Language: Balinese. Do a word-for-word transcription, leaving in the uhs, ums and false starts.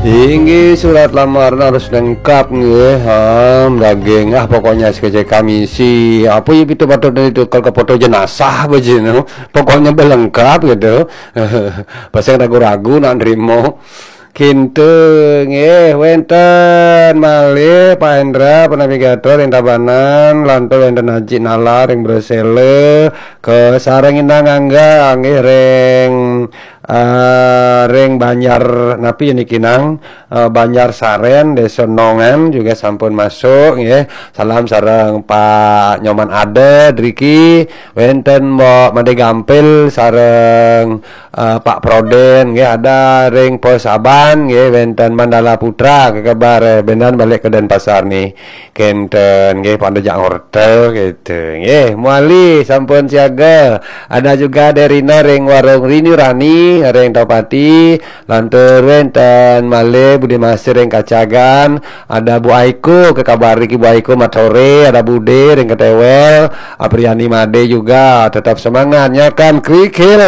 Inggih, surat lamaran harus lengkap nggih. Ha, daging ah pokoknya sekecil kamisi. Apa ya itu patut itu kalau ke foto jenazah bajinu. Pokoknya belengkap gitu. Pasang ragu-ragu nak nerima. Kinten nggih wenten malih Pak Hendra penavigator ring Tabanan, lantur wenten Haji Nala ring Bresele, ke sareng Inang Angga nggih ring eh, ring Banjar napi ya niki nang eh, Banjar Saren, Desa Nongan juga sampun masuk nggih. Salam sareng Pak Nyoman Ada driki, wenten Mbok Made Gampil sareng eh, Pak Proden nggih, ada ring Posaban nggih, wenten Mandala Putra kekebar eh, bendan balik ke Denpasar nih. Kenten nggih, pada jak ngortel gitu nggih. Muali sampun siaga. Ada juga Derina ring warung Rini Rani ring Topati. Lantur wenten malih Budi Masih ring Kacagan. Ada Bu Aiko, kekabar iki Bu Aiko matore, ada Bude ring Ketewel, Apriani Made juga tetap semangatnya kan kerikil.